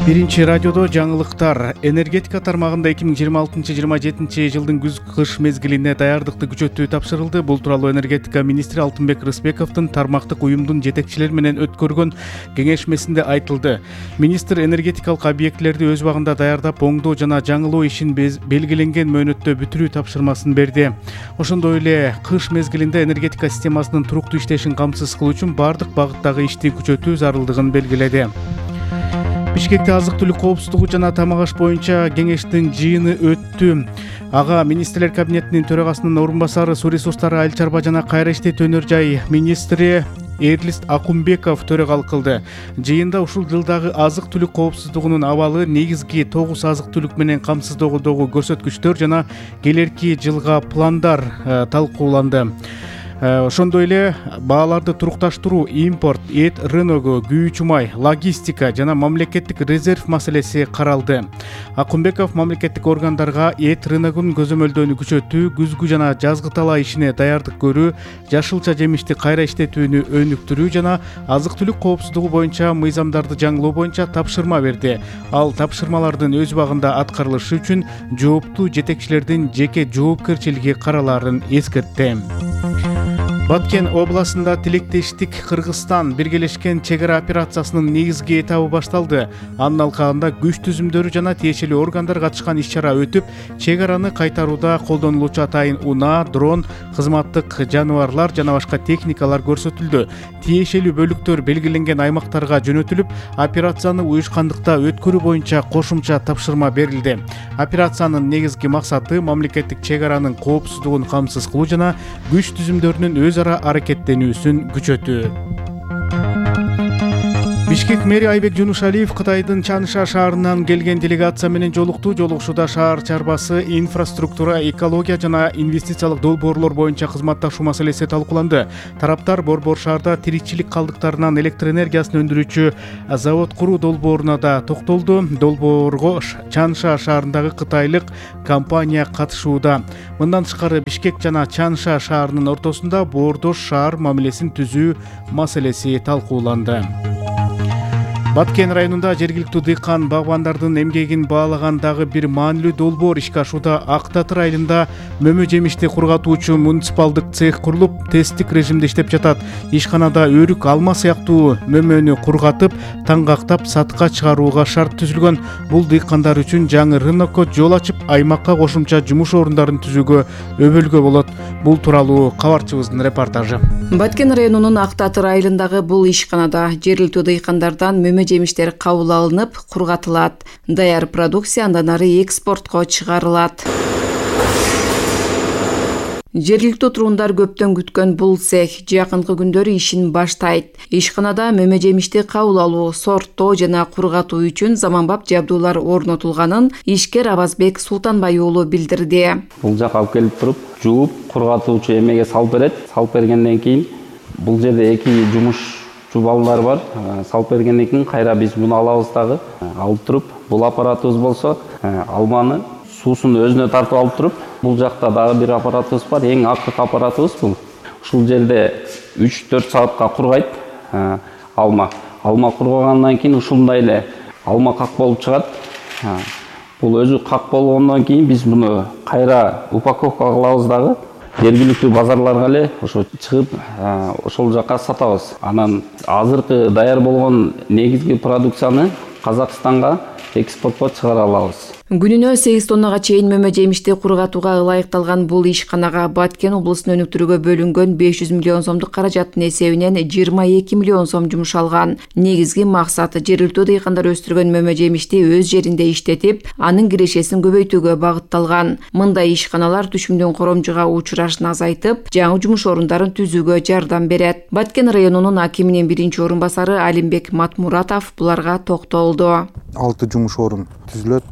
Биринчи радиодо жаңылыктар. Энергетика тармагында 2026-27 жылдын күз-кыш мезгилине даярдыкты күчөтүү тапшырылды. Бул тууралуу энергетика министри Алтынбек Рысбековдун тармактык уюмдун жетекчилери менен өткөргөн кеңешмесинде айтылды. Министр энергетикалык объектилерди өз убагында даярдап, оңдоо жана жаңылоо ишин белгиленген мөөнөттө бүтүрүү тапшырмасын берди. Ошондой эле кыш мезгилинде энергетика системасынын туруктуу иштешин камсыз кылуу үчүн бардык багыттагы ишти күчөтүү зарылдыгын белгиледи. Бишкекте азык-түлүк коопсуздугу жана тамак аш боюнча кеңештин жыйыны өттү. Ага министрлер кабинетинин төрагасынын орун басары, суу ресурстары, айыл чарба жана кайра иштетүү өнөр жай министри Эрлист Акумбеков төрагалык кылды. Жыйында ушул жылдагы азык-түлүк коопсуздугунун абалы, негизги 9 азык-түлүк менен камсыздоодогу көрсөткүчтөр жана келерки жылга пландар талкууланды. Ошондой эле бааларды турукташтыруу, импорт, эт рыногу, күйүүчү май, логистика жана мамлекеттик резерв маселеси каралды. Акумбеков мамлекеттик органдарга эт рыногун көзөмөлдөөнү күчөтүү, күзгү жана жазгы талаа ишине даярдык көрүү, жашылча жемишти кайра иштетүүнү өнүктүрүү жана азык-түлүк коопсуздугу боюнча мыйзамдарды жаңылоо боюнча тапшырма берди. Ал тапшырмалардын өз убагында аткарылышы үчүн жооптуу жетекчилердин жеке жоопкерчилиги каралаарын эскертти. Баткен областында тилектештик Кыргызстан биргелешкен чек ара операциясынын негизги этабы башталды. Анын алкагында күч түзүмдөрү жана тиешелүү органдар катышкан иш-чара өтүп, чек араны кайтарууда колдонулуучу атайын унаа, дрон, кызматтык жаныбарлар жана башка техникалар көрсөтүлдү. Тиешелүү бөлүктөр белгиленген аймактарга жөнөтүлүп, операцияны уюшкандыкта өткөрүү боюнча кошумча тапшырма берилди. Операциянын негизги максаты мамлекеттик чек аранын коопсуздугун камсыз кылуу жана күч түзүмдөрүнүн өз ара аракеттенүүсүн күчөтүү. Бишкек мэри Айбек Жунушалиев Кытайдын Чанша шаарынан келген делегация менен жолукту. Жолугушууда шаар чарбасы, инфраструктура, экология жана инвестициялык долбоорлор боюнча кызматташуу маселеси талкууланды. Тараптар Борбор шаарда тиричилик калдыктарынан электр энергиясын өндүрүүчү завод куруу долбооруна да токтолду. Долбоорго Чанша шаарындагы кытайлык компания катышууда. Мындан тышкары Бишкек жана Чанша шаарынын ортосунда боордош шаар мамилесин түзүү маселеси талкууланды. Баткен районунда жергиликтүү дыйкан багбандардын эмгегин баалаган дагы бир маанилүү долбоор ишке ашууда. Ак Татыр айылында мөмө жемишти кургатуучу муниципалдык цех курулуп, тесттик режимде иштеп жатат. Ишканада өрүк, алма сыяктуу мөмөнү кургатып, таңгактап сатка чыгарууга шарт түзүлгөн. Бул дыйкандар үчүн жаңы рынокко жол ачып, аймакка кошумча жумуш орундарын түзүүгө өбөлгө болот. Бул тууралуу кабарчыбыздын репортажы. Баткен районунун Ак Татыр айылындагы бул ишканада жергиликтүү дыйкандардан мөмө жемиштер кабыл алынып, кургатылат. Даяр продукция андан ары экспортко чыгарылат. Жергиликтүү тургундар көптөн күткөн бул цех жакынкы күндөрү ишин баштайт. Ишканада мөмө жемишти кабыл алуу, сорттоо жана кургатуу үчүн заманбап жабдуулар орнотулганын ишкер Абазбек Султанбай уулу билдирди. Бул жака алып келип туруп, жууп, кургатуучу эмеге салып берет. Салып бергенден кийин бул жерде эки жумушчу балдар бар. Салып бергенден кийин кайра биз муну алабыз дагы. Алып туруп, бул аппаратыбыз болсо, алманы суусун өзүнө тартып алып туруп, бул жакта дагы бир аппаратыбыз бар. Эң акыркы аппаратыбыз бул. Ушул жерде 3-4 саатка кургайт алма. Алма кургагандан кийин ушундай эле алма как болуп чыгат. Бул өзү как болгондон кийин биз муну кайра упаковка кылабыз дагы. Жергиликтүү базарларга эле ошо чыгып, ошол жака сатабыз. Анан азыркы даяр болгон негизги продукцияны Казакстанга экспортко чыгара алабыз. Күнүнө 8 тоннага чейин мөмө жемишти кургатууга ылайыкталган бул ишканага Баткен облусун өнүктүрүүгө бөлүнгөн 500 миллион сомдук каражаттын эсебинен 22 миллион сом жумшалган. Негизги максаты жергиликтүү дыйкандар өстүргөн мөмө жемишти өз жеринде иштетип, анын кирешесин көбөйтүүгө багытталган. Мындай ишканалар түшүмдүн коромжуга учурашын азайтып, жаңы жумуш орундарын түзүүгө жардам берет. Баткен районунун акиминин биринчи орун басары Алимбек Матмуратов буларга токтолду. 6 жумуш орун түзүлөт.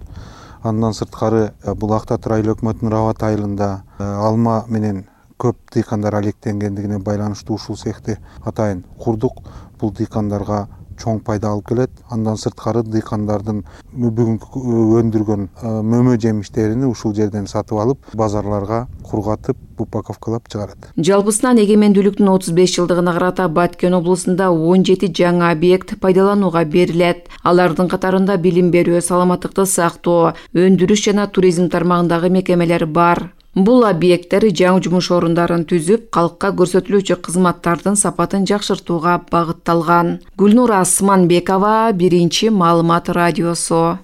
Андан сырткары бул Ак Татыр айыл өкмөтүнүн Рават айылында алма менен көп дыйкандар алектенгендигине байланыштуу ушул цехти атайын курдук. Бул дыйкандарга чоң пайда алып келет. Андан сырткары дыйкандардын бүгүнкү өндүргөн мөмө жемиштерин ушул жерден сатып алып, базарларга кургатып, упаковкалап чыгарат. Жалпысынан эгемендүүлүктүн 35 жылдыгына карата Баткен облусунда 17 жаңы объект пайдаланууга берилет. Алардын катарында билим берүү, саламаттыкты сактоо, өндүрүш жана туризм тармагындагы мекемелер бар. Бул объекттер жаңы жумуш орундарын түзүп, калкка көрсөтүлүүчү кызматтардын сапатын жакшыртууга багытталган. Гүлнур Асманбекова, Биринчи маалымат радиосу.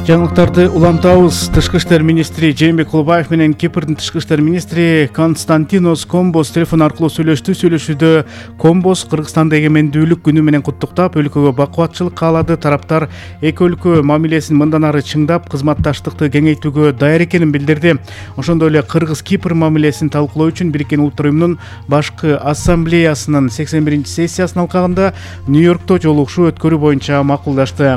Жаңылыктарды улантабыз. Тышкы иштер министри Жээнбек Кулбаев менен Кипрдин тышкы иштер министри Константинос Комбос телефон аркылуу сүйлөштү. Сүйлөшүүдө Комбос Кыргызстанды эгемендүүлүк күнү менен куттуктап, өлкөгө бакубатчылык каалады. Тараптар эки өлкө мамилесин мындан ары чыңдап, кызматташтыкты кеңейтүүгө даяр экенин билдирди. Ошондой эле Кыргыз-Кипр мамилесин талкуулоо үчүн Бириккен Улуттар Уюмунун башкы ассамблеясынын 81-сессиясынын алкагында Нью-Йоркто жолугушуу өткөрүү боюнча макулдашты.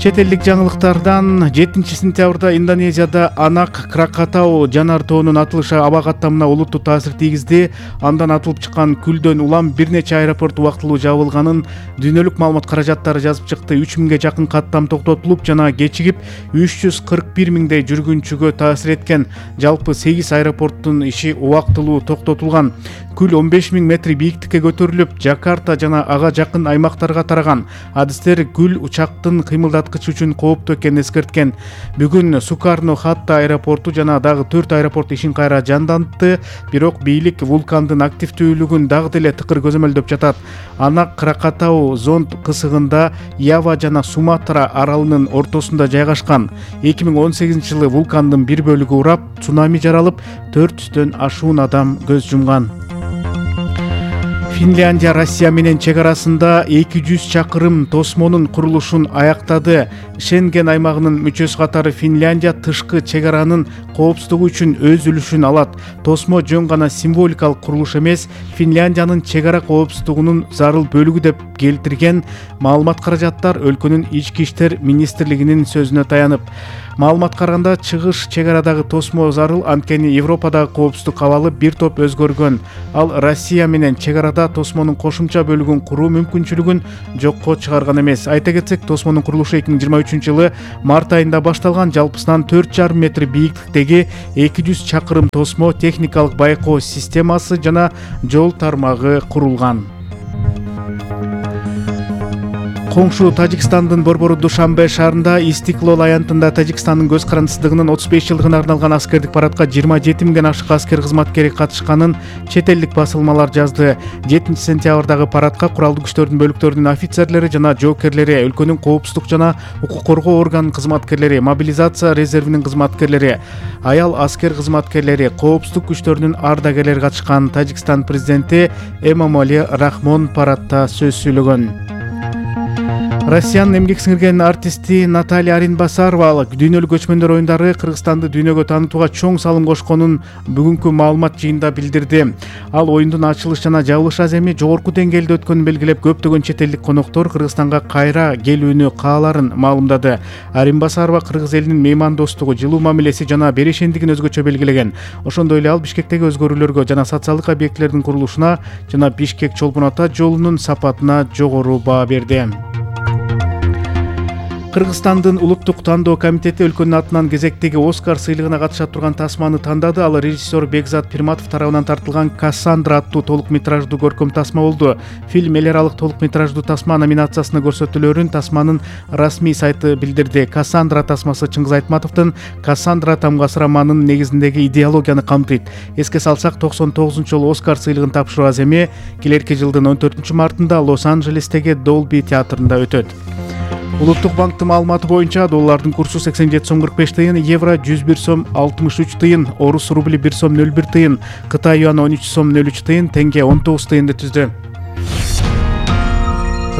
Чет элдик жаңылыктардан 7 сентябрда Индонезияда Анак Кракатау жанар тоонун атылышы аба каттамына олуттуу таасир тийгизди. Андан атылып чыккан күлдөн улам бир нече аэропорт убактылуу жабылганын дүйнөлүк маалымат каражаттары жазып чыкты. 3000ге жакын каттам токтотулуп жана кечигип 341 миңдей жүргүнчүгө таасир эткен. Жалпы 8 аэропорттун иши убактылуу токтотулган. Күл 15 000 метр бийиктикке көтөрүлүп, Жакарта жана ага жакын аймактарга тараган. Адистер күл учактын кыймылдаткычы үчүн кооптуу экенин эскерткен. Бүгүн Сукарно-Хатта аэропорту жана дагы 4 аэропорт ишин кайра жандантты, бирок бийлик вулкандын активдүүлүгүн дагы деле тыкыр көзөмөлдөп жатат. Анак Кракатау зонд кысыгында Ява жана Суматра аралынын ортосунда жайгашкан. 2018 жылы вулкандын бир бөлүгү урап, цунами жаралып, 400дөн ашуун адам көз жумган. Финляндия Россия менен чек арасында 200 чакырым тосмонун курулушун аяктады. Шенген аймагынын мүчөсү катары Финляндия тышкы чек аранын коопсуздугу үчүн өз үлүшүн алат. Тосмо жөн гана символикалык курулуш эмес, Финляндиянын чек ара коопсуздугунун зарыл бөлүгү деп келтирген маалымат каражаттар өлкөнүн ички иштер министрлигинин сөзүнө таянып. Маалыматка караганда чыгыш чек арадагы тосмо зарыл, анткени Европадагы коопсуздук абалы бир топ өзгөргөн. Ал Россия менен чек арада тосмонун кошумча бөлүгүн куруу мүмкүнчүлүгүн жокко чыгарган эмес. Айта кетсек, тосмонун курулушу 2023 жылы март айында башталган. Жалпысынан 4,5 метр бийиктиктеги 200 чакырым тосмо, техникалык байкоо системасы жана жол тармагы курулган. Коңшу Тажикстандын борбору Душанбе шаарында Истиклол аянтында Тажикстандын көз карандысыздыгынын 35 жылдыгына арналган аскердик парадка 27 миңден ашык аскер кызматкери катышканын чет элдик басылмалар жазды. 7 сентябрдагы парадка куралдуу күчтөрдүн бөлүктөрүнүн офицерлери жана жоокерлери, өлкөнүн коопсуздук жана укук коргоо органынын кызматкерлери, мобилизация резервинин кызматкерлери, аял аскер кызматкерлери, коопсуздук күчтөрүнүн ардагерлери катышкан. Тажикстан президенти Эмомали Рахмон парадта сөз сүйлөгөн. Россиянын эмгек сиңирген артисти Наталья Аринбасарова дүйнөлүк көчмөндөр оюндары Кыргызстанды дүйнөгө таанытууга чоң салым кошконун бүгүнкү маалымат жыйынында билдирди. Ал оюндун ачылыш жана жабылыш аземи жогорку деңгээлде өткөнүн белгилеп, көптөгөн чет элдик коноктор Кыргызстанга кайра келүүнү кааларын маалымдады. Аринбасарова кыргыз элинин меймандостугу, жылуу мамилеси жана беришендигин өзгөчө белгилеген. Ошондой эле ал Бишкектеги өзгөрүүлөргө жана социалдык объектилердин курулушуна жана Бишкек-Чолпон Ата жолунун сапатына жогору баа берди. Кыргызстандын улуттук тандоо комитети өлкөнүн атынан кезектеги Оскар сыйлыгына катыша турган тасманы тандады. Ал режиссер Бекзат Пирматов тарабынан тартылган Кассандра аттуу толук метраждуу көркөм тасма болду. Фильм эл аралык толук метраждуу тасма номинациясына көрсөтүлөрүн тасманын расмий сайты билдирди. Кассандра тасмасы Чыңгыз Айтматовдун Кассандра тамгасы романынын негизиндеги идеологияны камтыйт. Эске салсак, 99-жолу Оскар сыйлыгын тапшыруу аземи келерки жылдын 14 мартында Лос-Анджелестеги Долби театрында өтөт. Улуттук банктын маалыматы боюнча доллардын курсу 87 сом 45 тыйын, евро 101 сом 63 тыйын, орус рубли 1 сом 01 тыйын, Кытай юаны 13 сом 03 тыйын, тенге 19 тыйынды түздү.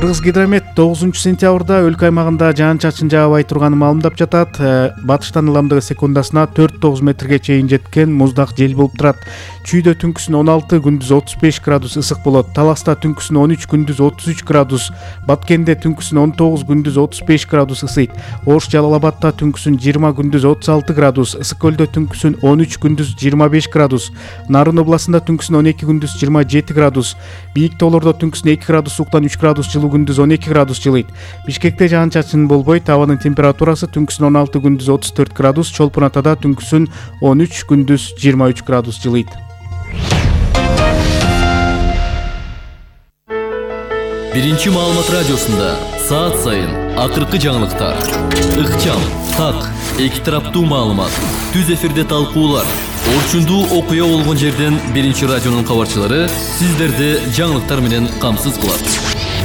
Кыргызгидромет 9-сентябрда өлкө аймагында жаан-чачын жаабай турганын маалымдап жатат. Батыштан ыламдыгы секундасына 4-9 метрге чейин жеткен муздак жел болуп турат. Чүйдө түнкүсүн 16, күндүз 35 градус ысык болот. Таласта түнкүсүн 13, күндүз 33 градус. Баткенде түнкүсүн 19, күндүз 35 градус ысыйт. Ош Жалал Абадта түнкүсүн 20, күндүз 36 градус. Ысык көлдө түнкүсүн 13, күндүз 25 градус. Нарын областында түнкүсүн 12, күндүз 27 градус. Бийик тоолордо түнкүсүн 2 градус сууктан 3 градус жылуу, күндүз 12 градус жылыйт. Бишкекте жаан-чачын болбойт. Абанын температурасы түнкүсүн 16, күндүз 34 градус. Чолпон Атада түнкүсүн 13, күндүз 23 градус жылыйт. Биринчи маалымат радиосунда саат сайын акыркы жаңылыктар, ыкчам, так, эки тараптуу маалымат, түз эфирде талкуулар, орчундуу окуя болгон жерден Биринчи радионун кабарчылары сиздерди жаңылыктар менен камсыз кылат.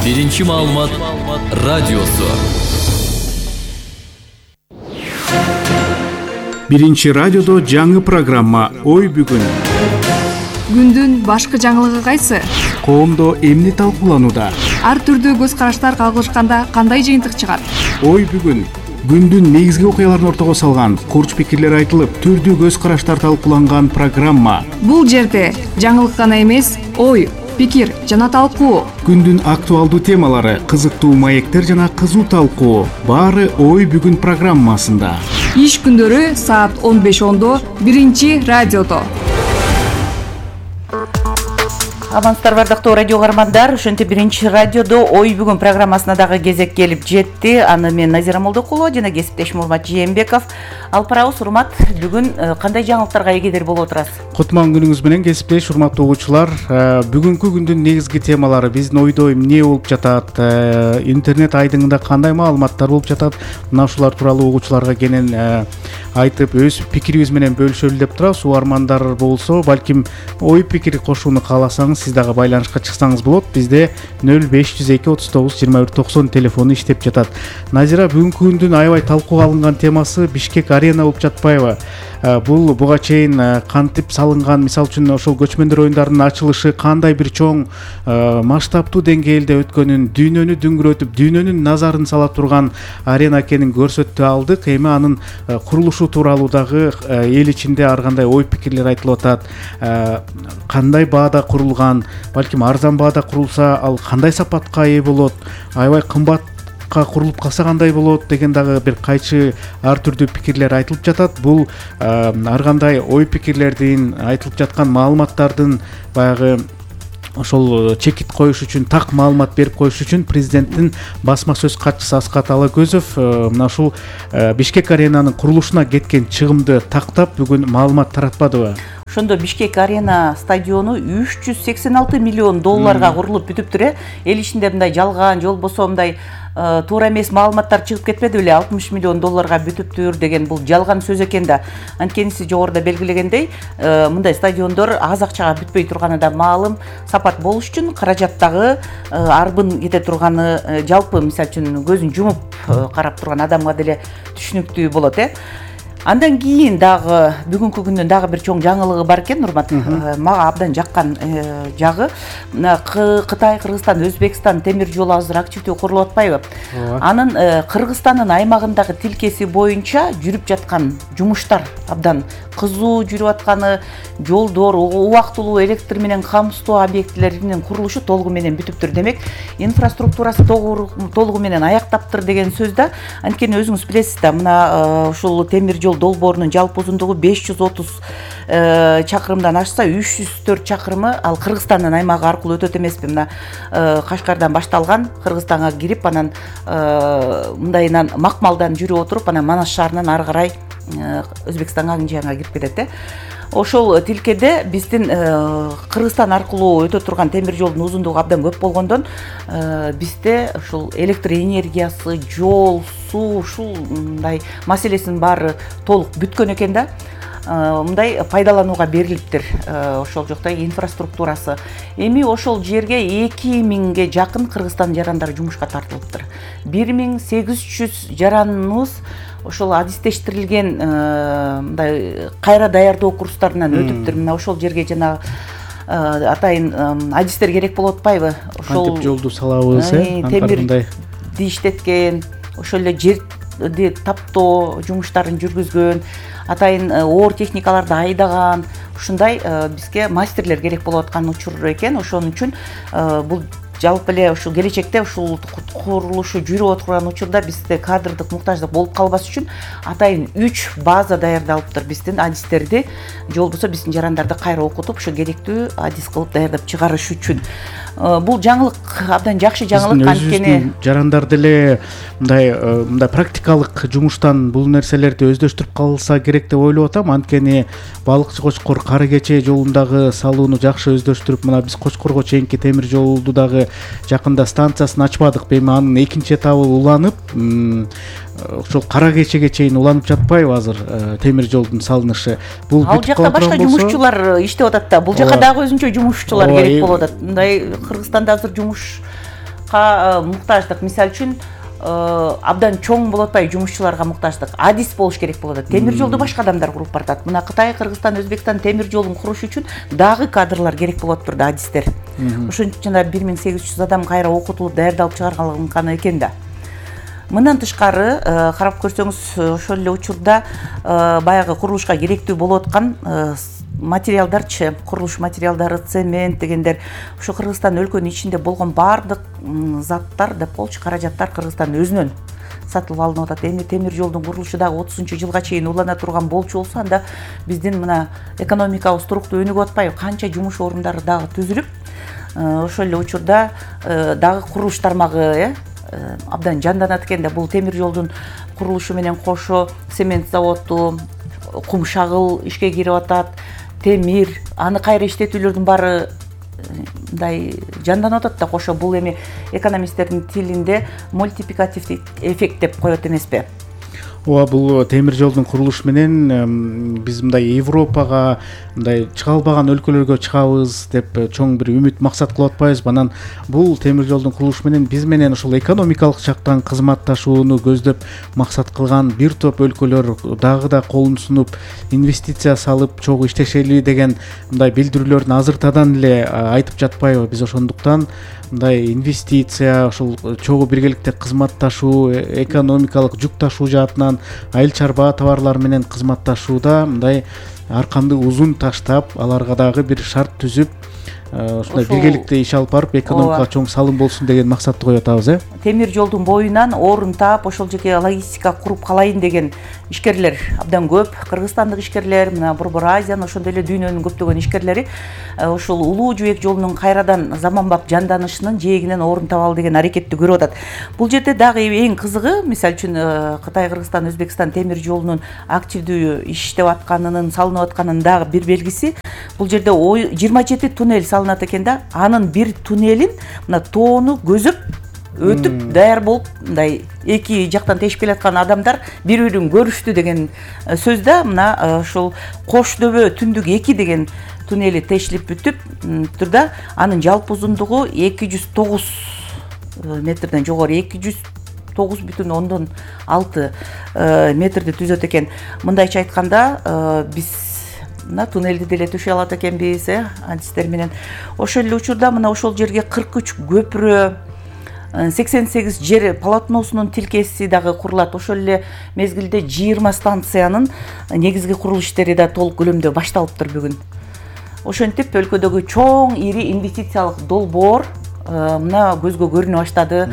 Биринчи маалымат радиосу. Биринчи радиодо жаңы программа «Ой бүгүн». Күндүн башкы жаңылыгы кайсы? Коомдо эмне талкууланууда? Ар түрдүү көз караштар кагылышканда кандай жыйынтык чыгат? Ой бүгүн. Күндүн негизги окуяларын ортого салган, курч пикирлер айтылып, түрдүү көз караштар талкууланган программа. Бул жерде жаңылык гана эмес, ой, пикир жана талкуу. Күндүн актуалдуу темалары, кызыктуу маектер жана кызуу талкуу. Баары Ой бүгүн программасында. Иш күндөрү саат 15:10 Биринчи радиодо. Амансыздар бардыктуу радио каармандар, ошентип Биринчи радиодо Ой бүгүн программасына дагы кезек келип жетти. Аны мен Назира Молдокулова жана кесиптешим Урмат Жээнбеков алып барабыз. Урмат, бүгүн кандай жаңылыктарга эгедир болуп отурасыз? Кутман күнүңүз менен кесиптеш урматтуу угуучулар. Бүгүнкү күндүн негизги темалары, биздин ойдо эмне болуп жатат, интернет айдыңында кандай маалыматтар болуп жатат, мына ушулар тууралуу угуучуларга кенен айтып, өз пикирибиз менен бөлүшөлү деп турабыз. Угармандар болсо, балким ой пикир кошууну кааласаңыз, сиз дагы байланышка чыксаңыз болот. Бизде 0502 39 21 90 телефону иштеп жатат. Назира, бүгүнкү күндүн аябай талкууга алынган темасы Бишкек арена болуп жатпайбы? Бул буга чейин кантип салынган, мисалы үчүн ошол көчмөндөр оюндарынын ачылышы кандай бир чоң масштабтуу деңгээлде өткөнүн, дүйнөнү дүңгүрөтүп, дүйнөнүн назарын сала турган арена экенин көрсөтүп алдык. Эми анын курулушу тууралуу дагы эл ичинде ар кандай ой пикирлер айтылып атат. Кандай баада курулган, балким арзан баада курулса, ал кандай сапатка ээ болот, аябай кымбат курулуп калса кандай болот деген дагы бир кайчы ар түрдүү пикирлер айтылып жатат. Бул ар кандай ой пикирлердин, айтылып жаткан маалыматтардын баягы ошол чекит коюш үчүн, так маалымат берип коюш үчүн президенттин басма сөз катчысы Аскат Алакөзов мына ушул Бишкек аренанын курулушуна кеткен чыгымды тактап бүгүн маалымат таратпадыбы? Ошондо Бишкек арена стадиону 386 миллион долларга курулуп бүтүптүр. Эл ичинде мындай жалган, же болбосо мындай туура эмес маалыматтар чыгып кетпеди беле, 60 миллион долларга бүтүптүр деген бул жалган сөз экен да. Анткени сиз жогоруда белгилегендей, мындай стадиондор аз акчага бүтпөй турганы да маалым. Сапат болуш үчүн каражат дагы арбын кете турганы жалпы мисалы үчүн көзүн жумуп карап турган адамга деле түшүнүктүү болот. Андан кийин дагы бүгүнкү күндүн дагы бир чоң жаңылыгы бар экен, Урмат. Мага абдан жаккан жагы, Кытай, Кыргызстан, Өзбекстан темир жолу азыр активдүү курулуп атпайбы? Анын Кыргызстандын аймагындагы тилкеси боюнча жүрүп жаткан жумуштар абдан кызуу жүрүп атканы, жолдор, убактылуу электр менен камсыздоо объектилеринин курулушу толугу менен бүтүптүр. Демек, инфраструктурасы толугу менен аяктаптыр деген сөз да. Анткени өзүңүз билесиз да, мына ушул темир жол долбоорунун жалпы узундугу 530 чакырымдан ашса, 304 чакырымы ал Кыргызстандын аймагы аркылуу өтөт эмеспи? Мына Кашкардан башталган, Кыргызстанга кирип, анан мындайынан Макмалдан жүрүп отуруп, анан Манас шаарынан ары карай Өзбекстанга, Кынжыянга кирип кетет. Ошол тилкеде биздин Кыргызстан аркылуу өтө турган темир жолдун узундугу абдан көп болгондон бизде ушул электр энергиясы, жол, суу, ушундай маселесинин баары толук бүткөн экен да. Мындай пайдаланууга берилиптир ошол жакта инфраструктурасы. Эми ошол жерге 2000ге жакын Кыргызстан жарандары жумушка тартылыптыр. 1800 жараныбыз ошол адистештирилген мындай кайра даярдоо курстарынан өтүптүр. Мына ошол жерге жанагы атайын адистер керек болуп атпайбы? Кантип жолду салабыз, темирди иштеткен, ошол эле жерди таптоо жумуштарын жүргүзгөн, атайын оор техникаларды айдаган, ушундай бизге мастерлер керек болуп аткан учур экен. Ошон үчүн бул жалпы эле ушул келечекте ушул курулушу жүрүп отурган учурда бизде кадрдык муктаждык болуп калбас үчүн атайын 3 база даярдалыптыр биздин адистерди, же болбосо биздин жарандарды кайра окутуп ошо керектүү адис кылып даярдап чыгарыш үчүн. Бул жаңылык абдан жакшы жаңылык, анткени жарандар деле мындай практикалык жумуштан бул нерселерди өздөштүрүп калса керек деп ойлоп атам. Анткени балыкчы Кочкор Кары Кече жолундагы салууну жакшы өздөштүрүп, мына биз Кочкорго чейинки темир жолду дагы жакында станциясын ачпадык. Эми анын экинчи этабы уланып, ошол Кара Кечеге чейин уланып жатпайбы азыр темир жолдун салынышы? Бул ал жакта башка жумушчулар иштеп атат да. Бул жака дагы өзүнчө жумушчулар керек болуп атат. Мындай Кыргызстанда азыр жумушка муктаждык, мисалы үчүн абдан чоң болуп атпайбы, жумушчуларга муктаждык, адис болуш керек болуп атат. Темир жолду башка адамдар куруп баратат. Мына Кытай, Кыргызстан, Өзбекстан темир жолун куруш үчүн дагы кадрлар керек болуп атыптыр да, адистер. Ошон үчүн жана 1800 адам кайра окутулуп даярдалып чыгарылган экен да. Мындан тышкары карап көрсөңүз, ошол эле учурда баягы курулушка керектүү болуп аткан материалдарчы, курулуш материалдары, цемент дегендер, ошо Кыргызстан өлкөнүн ичинде болгон баардык заттар деп болчу, каражаттар Кыргызстан өзүнөн сатылып алынып атат. Эми темир жолдун курулушу дагы 30-жылга чейин улана турган болчу болсо, анда биздин мына экономикабыз туруктуу өнүгүп атпайбы, канча жумуш орундары дагы түзүлүп, ошол эле учурда дагы курулуш тармагы абдан жанданат экен да. Бул темир жолдун курулушу менен кошо цемент заводу, кум шагыл ишке кирип атат, темир, аны кайра иштетүүлөрдүн баары мындай жанданып атат да кошо. Бул эми экономисттердин тилинде мультипликативдик эффект деп коет эмеспи? Ооба, бул темир жолдун курулушу менен биз мындай Европага, мындай чыга албаган өлкөлөргө чыгабыз деп чоң бир үмүт максат кылып атпайбызбы? Анан бул темир жолдун курулушу менен биз менен ушул экономикалык жактан кызматташууну көздөп максат кылган бир топ өлкөлөр дагы да колун сунуп, инвестиция салып чогуу иштешели деген мындай билдирүүлөрдүн азыртадан эле айтып жатпайбы? Биз ошондуктан мындай инвестиция, ошол чогуу биргеликте кызматташуу, экономикалык жүк ташуу жаатынан айыл чарба товарлар менен кызматташууда мындай арканды узун таштап, аларга дагы бир шарт түзүп, ушундай биргеликте иш алып барып, экономикага чоң салым болсун деген максатты коюп атабыз, Темир жолдун боюнан орун таап, ошол жерге логистика куруп калайын деген ишкерлер абдан көп. Кыргызстандык ишкерлер, мына Борбор Азиянын, ошондой эле дүйнөнүн көптөгөн ишкерлери ошол улуу жибек жолунун кайрадан заманбап жанданышынын жээгинен орун табалы деген аракетти көрүп атат. Бул жерде дагы эң кызыгы, мисалы үчүн Кытай, Кыргызстан, Өзбекстан темир жолунун активдүү иштеп атканынын, салынып атканынын дагы бир белгиси, бул жерде 27 туннель салынат экен да. Анын бир туннелин мына тоону көзөп өтүп даяр болуп, мындай эки жактан тешип келаткан адамдар бири-бирин көрүштү деген сөз да. Мына ошол Кош дөбө түндүк 2 деген туннели тешилип бүтүп турда, анын жалпы узундугу 209 метрден жогору, 209,6 метрди түзөт экен. Мындайча айтканда, биз мына туннелди деле төшөй алат экенбиз, адистер менен. Ошол эле учурда мына ошол жерге 43 көпүрө, 88 жер полотносунун тилкеси дагы курулат. Ошол эле мезгилде 20 станциянын негизги курулуш иштери да толук көлөмдө башталыптыр бүгүн. Ошентип өлкөдөгү чоң ири инвестициялык долбоор мына көзгө көрүнө баштады.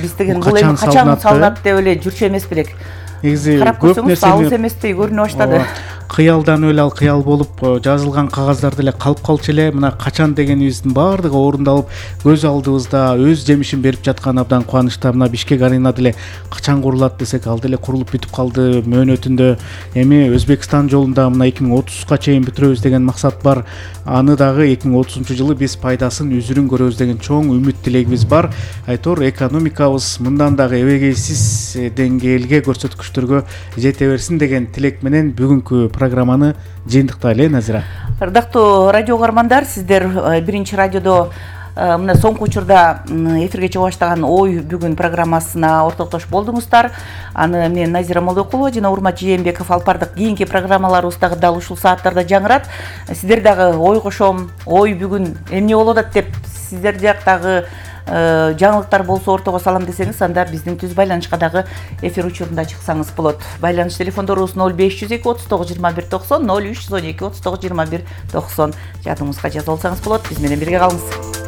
Биз деген бул эми качан салынат деп эле жүрчү эмес белек. Негизи көп нерсе алыс эместей көрүнө баштады. Кыялдан эле ал кыял болуп жазылган кагаздар деле калып калчу эле. Мына качан дегенибиздин баардыгы орундалып, көз алдыбызда өз жемишин берип жаткан абдан кубанычта. Мына Бишкек арена деле качан курулат десек, ал деле курулуп бүтүп калды мөөнөтүндө. Эми Өзбекстан жолунда мына 2030га чейин бүтүрөбүз деген максат бар. Аны дагы 2030-жылы биз пайдасын үзүрүн көрөбүз деген чоң үмүт тилегибиз бар. Айтор экономикабыз мындан дагы эбегейсиз деңгээлге, көрсөткүчтөргө жете берсин деген тилек менен бүгүнкү программаны жыйынтыктайлы, Назира. Ырдактуу радио угармандар, сиздер биринчи радиодо мына соңку учурда эфирге чыга баштаган ой бүгүн программасына ортоктошуп болдуңуздар. Аны мен Назира Молдокулова жана Урмат Жээнбеков алып бардык. Кийинки программаларыбыз дагы дал ушул сааттарда жаңырат. Сиздер дагы ой кошом, ой бүгүн эмне болуп атат деп сиздер жактагы жаңылыктар болсо ортого салам десеңиз, анда биздин түз байланышка дагы эфир учурунда чыксаңыз болот. Байланыш телефондорубуз 0502 39 21 90, 0312 39 21 90. Жадыңызга жазып алсаңыз болот. Биз менен бирге калыңыз.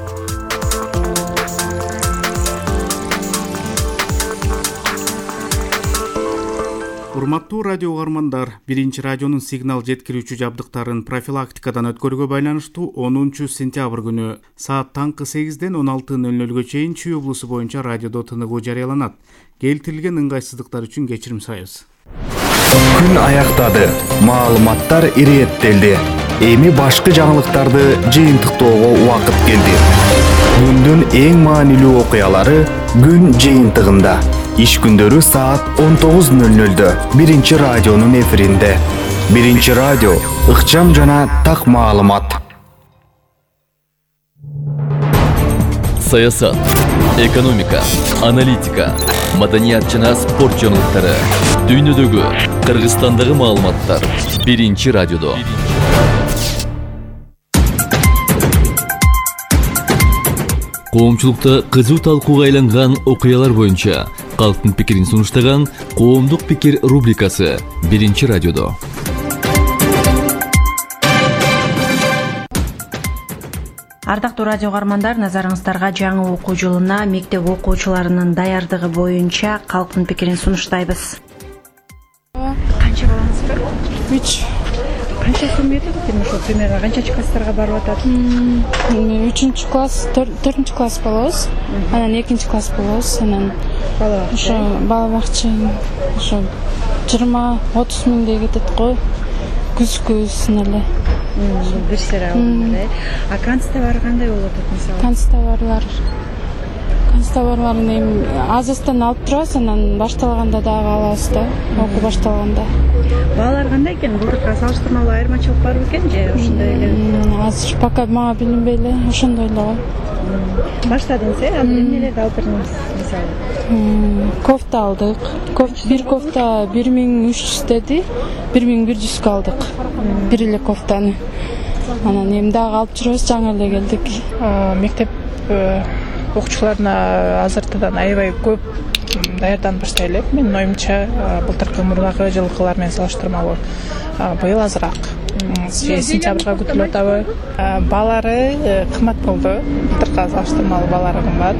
Урматтуу радио угармандар, биринчи радионун сигнал жеткирүүчү жабдыктарын профилактикадан өткөрүүгө байланыштуу 10 сентябрь күнү саат таңкы 8ден 16:00 чейин Чүй облусу боюнча радиодо тыныгуу жарыяланат. Келтирилген ыңгайсыздыктар үчүн кечирим сурайбыз. Күн аяктады. Маалыматтар иреттелди. Эми башкы жаңылыктарды жыйынтыктоого убакыт келди. Күндүн эң маанилүү окуялары күн жыйынтыгында. Иш күндөрү саат 19:00-дө биринчи радионун эфиринде. Биринчи радио ыкчам жана так маалымат. Саясат, экономика, аналитика, маданият жана спорт жаңылыктары, дүйнөдөгү, Кыргызстандагы маалыматтар биринчи радиодо. Коомчулукта кызуу талкууга айланган окуялар боюнча калктын пикирин сунуштаган Коомдук пикир рубрикасы биринчи радиодо. Ардактуу радио угармандар, назарыңыздарга жаңы окуу жылына мектеп окуучуларынын даярдыгы боюнча калктын пикирин сунуштайбыз. Канча балаңыз бар? 3. Канча суммети ошо примерно канчачы класстарга барып атат? 3 класс, 4 класс болобуз. Анан 2 класс болобуз. Анан ошо бала бакча ошо 20-30 миңдей кетет го. Күзгүсүн эле. Бир сыра эле. А канцтабар кандай болуп атат мисалы? Канцтабарларын эми азыстан алып турабыз, анан башталганда дагы алабыз да. Окуу башталганда. Балалар кандай экен? Былтыркыга салыштырмалуу айырмачылык барбы экен же ошондой эле? Азыр пока мага билинбей эле, ошондой эле го. Баштадыңыз, эмнелерди алып бердиңиз мисалы? Кофта алдык. Бир кофта 1300 деди, 1100 алдык. Бир эле кофтаны. Анан эми дагы алып жүрөбүз, жаңы эле келдик. Мектеп окуучуларына азыртадан аябай көп даярданып баштай элек. Менин оюмча, былтыркы мурдагы жылкылар менен салыштырмалуу быйыл азыраак. Сентябрга күтүлүп атабы. Балары кымбат болду. Былтыркыга салыштырмалуу балары кымбат.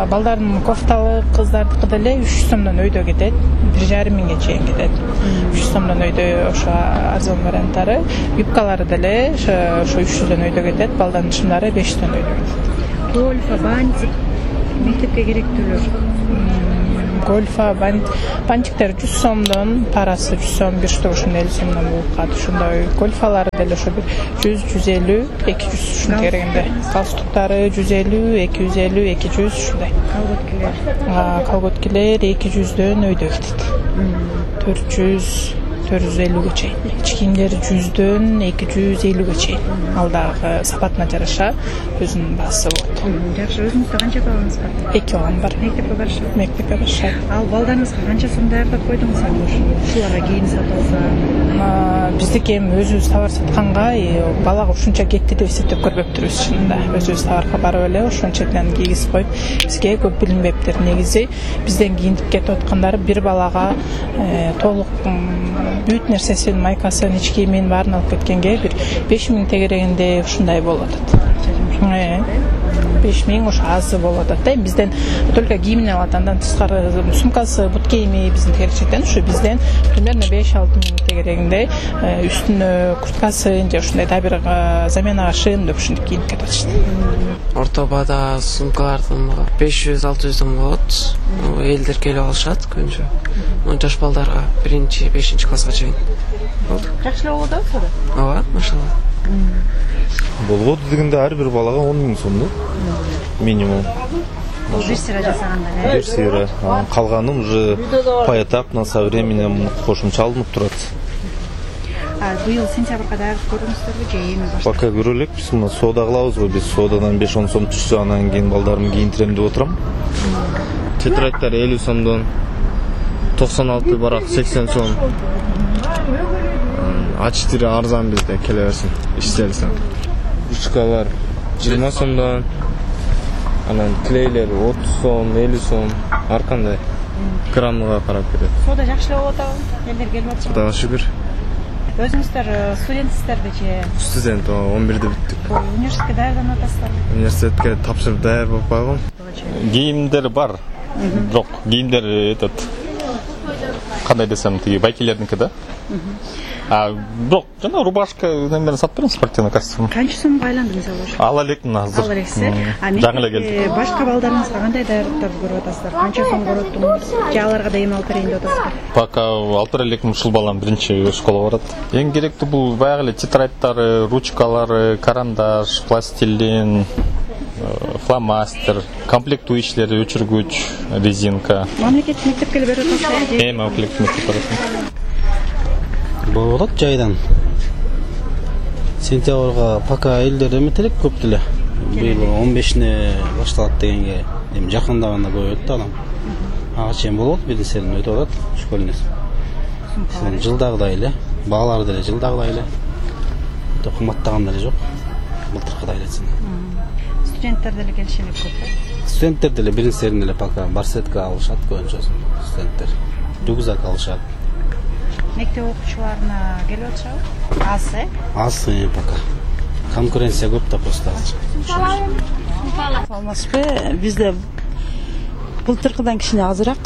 Балдардын кофталы кыздардыкы деле 300 сомдон өйдө кетет. 1,5 миңге чейин кетет. 300 сомдон өйдө ошо арзан варианттары. Юбкалары деле ошо 300дөн өйдө кетет. Балдардын чымдары 500дөн өйдө кетет. Гольфа, бантик, мектепке керектүүлөр. Гольфа, бантиктер 100 сомдон, парасы 100 сом, бир штук ошондой 50 сомдон болуп калат. Ошондой гольфалары деле ошо 100, 150, 200 ушунун керегинде. Галстуктары 150, 250, 200 ушундай. Колготкилер 200дөн өйдө кетет. 400, 450ге чейин. Ич кийимдер 100дөн 250ге чейин. Ал дагы сапатына жараша өзүнүн баасы болот. Жакшы, өзүңүздө канча балаңыз бар? 2 балам бар. Мектепке барышат? Мектепке барышат. Ал балдарыңызга канча сом даярдап койдуңуз ушуларга кийим сатып алса? Биздики эми өзүбүз товар сатканга балага ушунча кетти деп эсептеп көрбөптүрбүз чынында. Өзүбүз товарга барып эле ошончадан кийгизип коюп, бизге көп билинбептир. Негизи бизден кийинтип кетип аткандары бир балага толук бүт нерсесин, майкасын, ич кийимин баарын алып кеткенге бир 5 миң тегерегинде ушундай болуп атат. 5 миң ошо азы болуп атат да. Бизден только кийимин алат, андан тышкары сумкасы, бут кийими биздин тегеречектен ушу бизден примерно 5-6 миң тегерегинде үстүнө курткасы же ушундай да бир заменага шын деп ушинтип кийинип кетип атышты. Орто баада сумкалардын 500-600дөн болот. Элдер келип алышат көбүнчө. Жаш балдарга 1-5 класска чейин. Жакшы болот атпы? Ооба, машалла. Болот дегенде ар бир балага 10 миң сом да. Минимум. Бул бир сыра жасаганда. Бир сыра. Калганын уже поэтапно со временем кошумча алынып турат. Быйыл сентябрга даярдык көрдүңүздөрбү же эми баштап? Пока көрө элекпиз, мына соода кылабызбы, биз соодадан 5-10 сом түшсө анан кийин балдарымды кийинтирем деп отурам. Тетрадьтар 50 сомдон 96 барак 80 сом. Ачтыры арзан бизде келе берсин, иштелсин. Ручкалар 20 сомдон, анан клейлер 30 сом, 50 сом, ар кандай граммга карап берет. Соода жакшы эле болуп атабы? Элдер келип атышпы? Кудайга шүгүр. Өзүңүздөр студентсиздерби же? Студент, 11-де бүттүк. Университетке даярданып атасыздарбы? Университетке тапшырып даяр болуп калгам. Кийимдер бар. Бирок кийимдер кандай десем, тиги байкелердики да. Бирок жана рубашка немелерин сатып берем, спортивный костюм. Канча сомго айланды мисалы ошо? Ала элекмин азыр. Ала элексиз. Жаңы эле келди. Башка балдарыңызга кандай даярдыктарды көрүп атасыздар? Канча сом короттуңуз? Же аларга да эми алып берейин деп атасыздар? Пока алып бере элекмин, ушул балам биринчи школага барат. Эң керектүү бул баягы эле тетрадьтары, ручкалары, карандаш, пластилин, фломастер, комплектующийлер, өчүргүч, резинка. Мамлекеттик мектепке эле берип атасызбы? Мамлекеттик мектепке барат. Болуп атат жайдан. Сентябрга пока элдер эметелек көп деле. Быйыл 15-не башталат дегенге эми жакындаганда көбөйөт да адам. Ага чейин болот, биринсерин өтүп атат школьный. Жылдагыдай эле, баалар деле жылдагыдай эле. Кымбаттаган деле жок. Былтыркыдай эле. Студенттер деле келишелек көп. Студенттер деле биринсерин эле пока барсетка алышат көбүнчө студенттер. Рюкзак алышат. Мектеп окуучуларына келип атышабы? Аз, Аз пока. Конкуренция көп да просто азыр. Саламатсызбы? Бизде былтыркыдан кичине азыраак.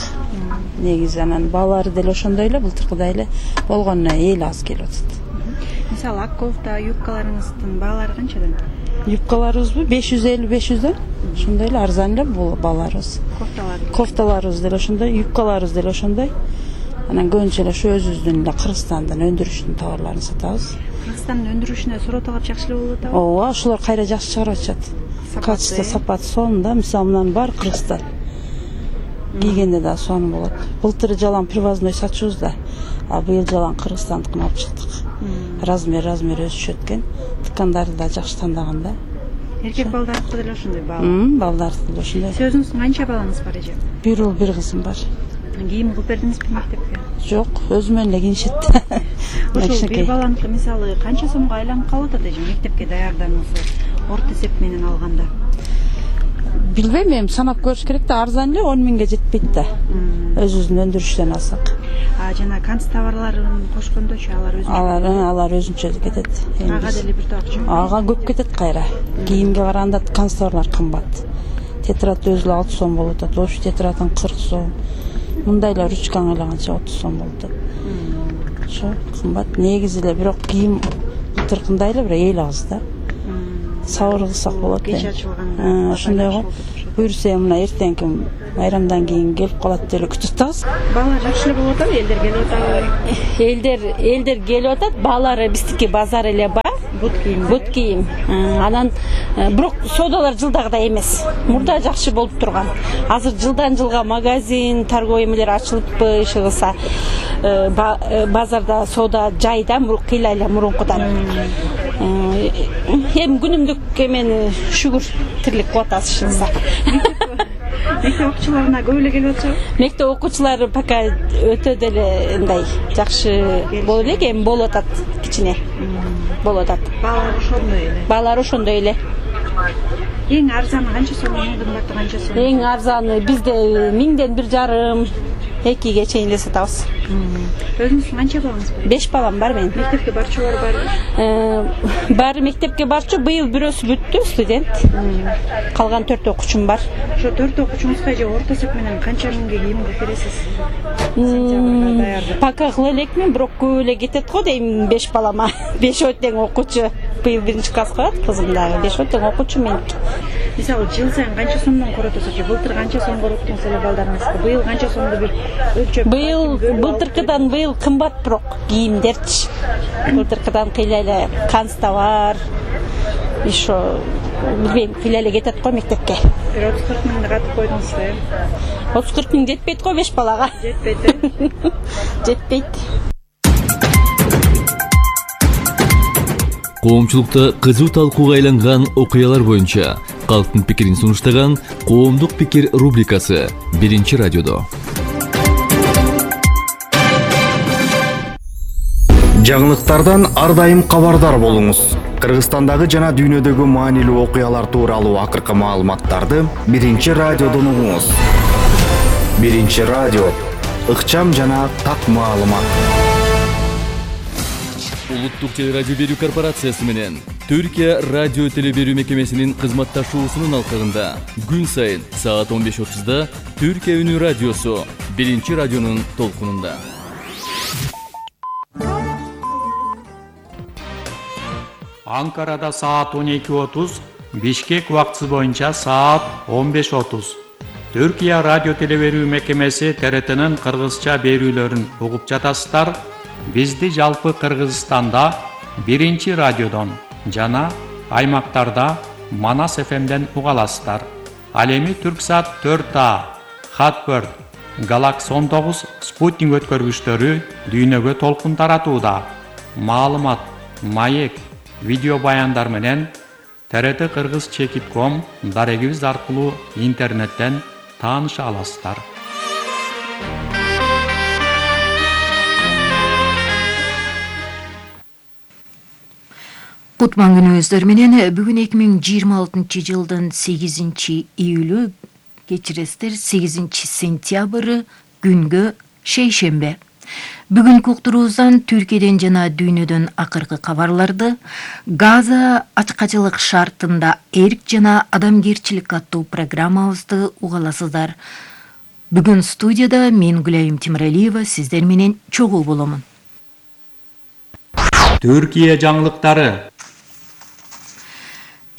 Негизи анан баалары деле ошондой эле, былтыркыдай эле болгону эл аз келип атат. Мисалы ак кофта, юбкаларыңыздын баалары канчадан? Юбкаларыбызбы 550-500дөн. Ошондой эле арзан эле бааларыбыз. Кофталарыбыз деле ошондой, юбкаларыбыз деле ошондой. Анан көбүнчө эле ушу өзүбүздүн эле Кыргызстандан өндүрүштүн товарларын сатабыз. Кыргызстандын өндүрүшүнө суроо талап жакшы эле болуп атабы? Ооба, ошолор кайра жакшы чыгарып атышат. Качество, сапаты сонун мисалы мынанын баары Кыргызстан. Кийгенде да сонун болот. Былтыр жалаң привозной сатчубуз да, а быйыл жалаң Кыргызстандыкын алып чыктык. Размер өсүшөт экен. Тыккандарды да жакшы тандаган да. Эркек балдардыкы деле ошондой баал. Балдардыкы деле ошондой. Өзүңүздүн канча балаңыз бар эже? Бир уул, бир кызым бар. Кийим кылып бердиңизби мектепке? Жок, өзүм эле кийишет. Ошол бир баланыкы мисалы канча сомго айланып калып атат эже мектепке даярдануусу орто эсеп менен алганда? Билбейм, эми санап көрүш керек да, арзан эле 10 миңге жетпейт да. Өзүбүздүн өндүрүштөн алсак. Жана канцтоварларын кошкондочу алар өзүнчө кетет. Ага деле бир тоокчу. Ага көп кетет кайра. Кийимге караганда канцтоварлар кымбат. Тетрад өзү 6 сом болуп атат, общий тетрадын 40 сом. Мындай эле ручканы айлаганча 30 сом болуп атат. Ошо кымбат. Негизи эле бирок кийим былтыркындай эле бир эл аз да. Сабыр кылсак болот. Кеч ачылганда. Ошондой го. Буюрса мына эртеңки майрамдан кийин келип калат деп эле күтүп атабыз. Баалар жакшы эле болуп атабы? Элдер келип атабы? Элдер келип атат. Баалары биздики базар эле ба. Бут кийим. Анан бирок соодалар жылдагыдай эмес. Мурда жакшы болуп турган. Азыр жылдан жылга магазин, торговый эмелер ачылыппы, иши кылса базарда соода жайда кыйла эле мурункудан. Эми күнүмдүк эмени шүгүр тирлик кылып атабыз иши кылса. Мектеп окуучуларына көп эле келип атышабы? Мектеп окуучулары пока өтө деле мындай жакшы болуп элек, эми болуп атат кичине. Болуп атат. Баалары ошондой эле. Эң арзаны канча сом, эң кымбаты канча сом? Эң арзаны бизде 1000-1,5 2ге чейин эле сатабыз. Өзүңүздүн канча балаңыз бар? 5 балам бар менин. Мектепке барчулар барбы? Баары мектепке барчу, быйыл бирөөсү бүттү, студент. Калган 4 окуучум бар. Ошо 4 окуучуңузга же орто эсеп менен канча миңге кийим кылып бересиз? Пока кыла элекмин, бирок көп эле кетет го дейм 5 балама. 5 тең окуучу. Быйыл 1-класска барат, кызым дагы 5 тең окуучу мен. Мисалы жыл сайын канча сомдон коротосуз же былтыр канча сом короттуңуз эле балдарыңызга? Быйыл канча сомду бир өлчөп? Былтыркыдан быйыл кымбат бирок кийимдерчи. Былтыркыдан кыйла эле канцтовар, ишо билбейм, кыйла эле кетет го мектепке. Бир 30-40 миңди катып койдуңуз да, 30-40 миң жетпейт го 5 балага. Жетпейт. Жетпейт. Коомчулукта кызуу талкууга айланган окуялар боюнча калктын пикирин сунуштаган Коомдук пикир рубрикасы Биринчи радиодо. Жаңылыктардан ар дайым кабардар болуңуз. Кыргызстандагы жана дүйнөдөгү маанилүү окуялар тууралуу акыркы маалыматтарды Биринчи радиодон угуңуз. Биринчи радио, ыкчам жана так маалымат. Улуттук телерадио берүү корпорациясы менен Түркия радио телеберүү мекемесинин кызматташуусунун алкагында күн сайын саат 15:30 Түркия үнү радиосу Биринчи радионун толкунунда. Анкарада саат 12:30, Бишкек убактысы боюнча саат 15:30. Түркия радио телеберүү мекемеси ТРТнын кыргызча берүүлөрүн угуп жатасыздар. Бизди жалпы Кыргызстанда Биринчи радиодон жана аймактарда Манас ФМден уга аласыздар. Ал эми Түрксат 4А, Хатбird, Galaxy 19 спутник өткөргүчтөрү дүйнөгө толкун таратууда. Маалымат, маек, видео баяндар менен TRT Кыргыз Чекит.com дарегибиз аркылуу интернеттен тааныша аласыздар. Кутман күнүңүздөр менен бүгүн 2026 жылдын 8 июлү, кечиресиздер, 8 сентябры күнгө шейшембе. Бүгүнкү уктуруубуздан Түркияден жана дүйнөдөн акыркы кабарларды, Газа ачкачылык шартында эрк жана адамгерчилик аттуу программабызды уга аласыздар. Бүгүн студияда мен Гүлайым Тимиралиева сиздер менен чогуу боломун. Түркия жаңылыктары.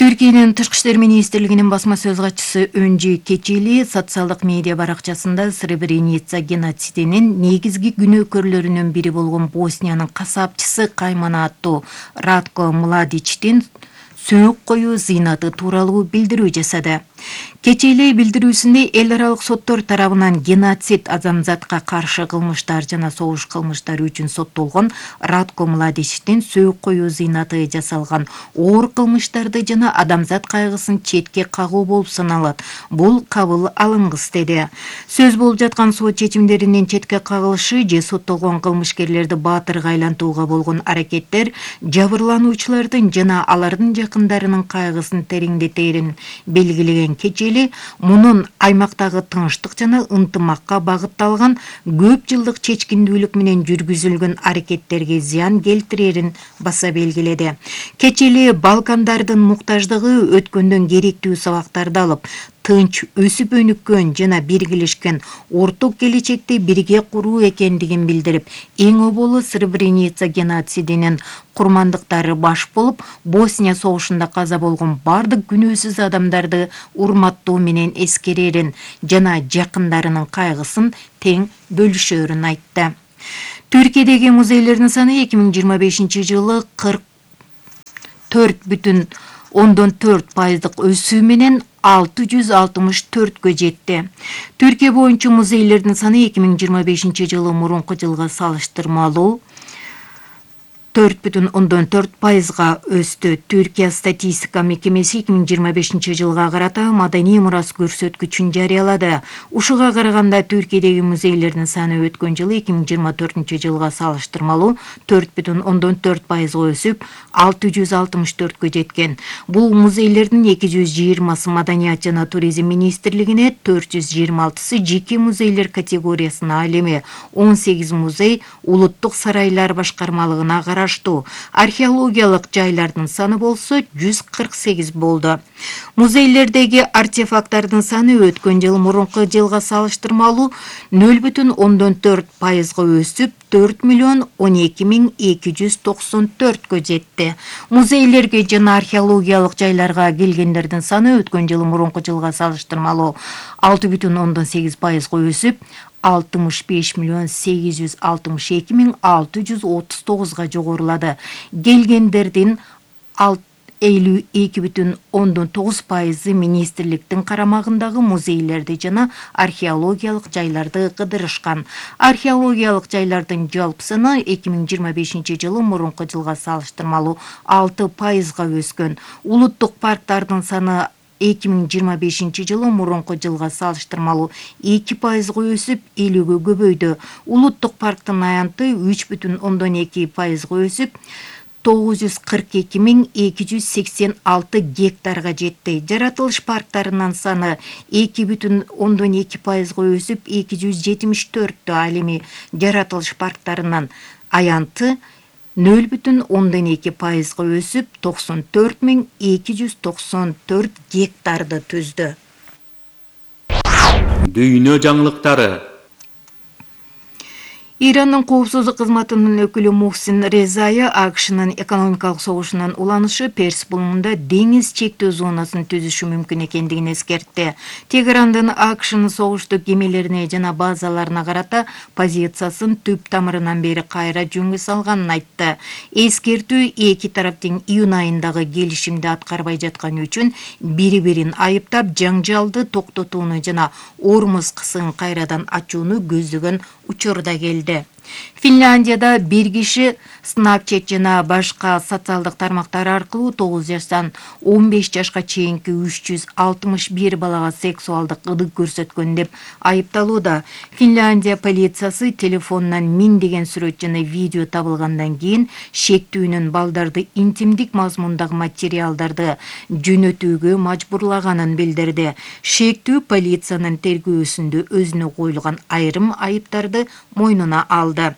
Түркиянын Тышкы иштер министрлигинин басма сөз катчысы Өнжи Кечели социалдык медиа баракчасында Сребреница геноцидинин негизги күнөөкөрлөрүнүн бири болгон Босниянын касапчысы Каймана аттуу Радко Младичтин сөөк коюу зыйнаты тууралуу билдирүү жасады. Кечели билдирүүсүндө эл аралык соттор тарабынан геноцид, адамзатка каршы кылмыштар жана согуш кылмыштары үчүн соттолгон Радко Младичтин сөөк коюу зыйнаты жасалган оор кылмыштарды жана адамзат кайгысын четке кагуу болуп саналат. Бул кабыл алынгыс деди. Сөз болуп жаткан сот чечимдеринин четке кагылышы же соттолгон кылмышкерлерди баатырга айлантууга болгон аракеттер жабырлануучулардын жана алардын жакындарынын кайгысын тереңдетерин белгилеген Кечели мунун аймактагы тынчтык жана ынтымакка багытталган көп жылдык чечкиндүүлүк менен жүргүзүлгөн аракеттерге зыян келтирерин баса белгиледи. Кечели Балкандардын муктаждыгы өткөндөн керектүү сабактарды алып, тынч өсүп өнүккөн жана биргелешкен орток келечекти бирге куруу экендигин билдирип, эң оболу Сребреница геноцидинин курмандыктары баш болуп, Босния согушунда каза болгон бардык күнөөсүз адамдарды урматтоо менен эскерерин жана жакындарынын кайгысын тең бөлүшөрүн айтты. Түркиядеги музейлердин саны 2025 жылы 44,4% өсүү менен 664-кө жетти. Түркия боюнча музейлердин саны 2025 жылы мурунку жылга салыштырмалуу 4,4%га өстү. Түркия статистика мекемеси 2025 жылга карата маданий мурас көрсөткүчүн жарыялады. Ушуга караганда Түркиядеги музейлердин саны өткөн жылы 2024 жылга салыштырмалуу 4,4%га өсүп, 664-кө жеткен. Бул музейлердин 220-сы Маданият жана туризм министрлигине, 426-сы жеке музейлер категориясына ал эми 18 музей улуттук сарайлар башкармалыгына караштуу. Археологиялык жайлардын саны болсо 148 болду. Музейлердеги артефакттардын саны өткөн жыл мурунку жылга салыштырмалуу 0,4%га өсүп, 4,12,294-кө жетти. Музейлерге жана археологиялык жайларга келгендердин саны өткөн жыл мурунку жылга салыштырмалуу 6,8%га өсүп, 65,862,639-га жогорулады. Келгендердин 52,9% министрликтин карамагындагы музейлерди жана археологиялык жайларды кыдырышкан. Археологиялык жайлардын жалпы саны 2025 жылы мурунку жылга салыштырмалуу 6%га өскөн. Улуттук парктардын саны 2025 жылы мурунку жылга салыштырмалуу 2%га өсүп, 50-ге көбөйдү. Улуттук парктын аянты 3,2%га өсүп, 942.286 гектарга жетти. Жаратылыш парктарынын саны 2,2%га өсүп, 274. Ал эми жаратылыш парктарынын аянты 0,2%га өсүп, 94.294 гектарды түздү. Дүйнө жаңылыктары. Ирандын коопсуздук кызматынын өкүлү Мухсин Резая АКШнын экономикалык согушунун уланышы Перс булуңунда деңиз чектөө зонасын түзүшү мүмкүн экендигин эскертти. Тегерандын АКШнын согуштук кемелерине жана базаларына карата позициясын түп тамырынан бери кайра жөнгө салганын айтты. Эскертүү эки тараптын июнь айындагы келишимди аткарбай жатканы үчүн бири-бирин айыптап, жаңжалды токтотууну жана Ормуз кысыгын кайрадан ачууну көздөгөн учурда келди. Финляндияда бир киши Snapchat жана башка социалдык тармактар аркылуу 9 жаштан 15 жашка чейинки 361 балага сексуалдык ыдык көрсөткөн деп айыпталууда. Финляндия полициясы телефонунан миңдеген сүрөт жана видео табылгандан кийин шектүүнүн балдарды интимдик мазмундагы материалдарды жөнөтүүгө мажбурлаганын билдирди. Шектүү полициянын тергөөсүндө өзүнө коюлган айрым айыптарды мойнуна алды.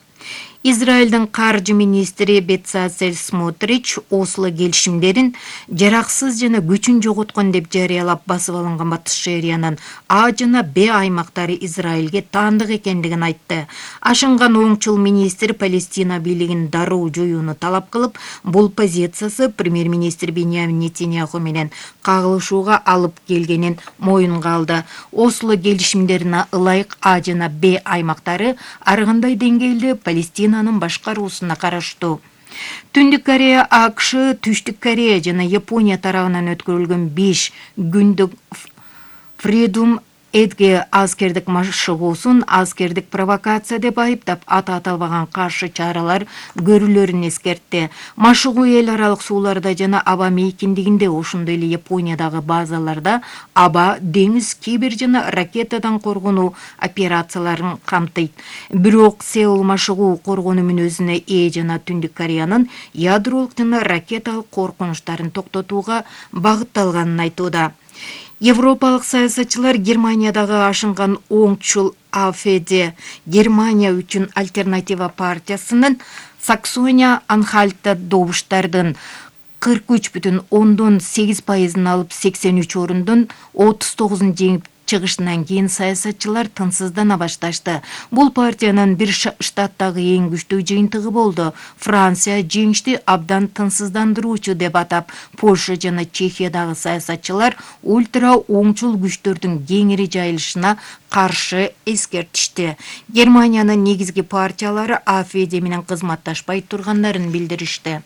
Израилдин каржы министри Бецалель Смотрич Осло келишимдерин жараксыз жана күчүн жоготкон деп жарыялап басып алынган Батыш Шериянын А жана Б аймактары Израилге таандык экендигин айтты. Ашынган оңчул министр Палестина бийлигин дароо жоюуну талап кылып, бул позициясы премьер-министр Беньямин Нетаньяху менен кагылышууга алып келгенин моюнга алды. Осло келишимдерине ылайык А жана Б аймактары ар кандай деңгээлде Палестинанын башкаруусуна караштуу. Түндүк Корея, АКШ, Түштүк Корея жана Япония тарабынан өткөрүлгөн 5 күндүк Freedom Эдге аскердик машыгуусун аскердик провокация деп айыптап, аты аталбаган каршы чаралар көрүлөрүн эскертти. Машыгуу эл аралык сууларда жана аба мейкиндигинде, ошондой эле Япониядагы базаларда аба, деңиз, кибер жана ракетадан коргонуу операцияларын камтыйт. Бирок Сеул машыгуу коргонуу мүнөзүнө ээ жана Түндүк Кореянын ядролук жана ракеталык коркунучтарын токтотууга багытталганын айтууда. Европалык саясатчылар Германиядагы ашынган оңчул АФД Германия үчүн альтернатива партиясынын Саксония-Анхальтта добуштардын 43,8% алып 83 орундон 39 жеңип чыгышынан кийин саясатчылар тынсыздана башташты. Бул партиянын бир штаттагы эң күчтүү жыйынтыгы болду. Франция жеңишти абдан тынсыздандыруучу деп атап, Польша жана Чехиядагы саясатчылар ультра оңчул күчтөрдүн кеңири жайылышына каршы эскертишти. Германиянын негизги партиялары АФД менен кызматташпай тургандарын билдиришти.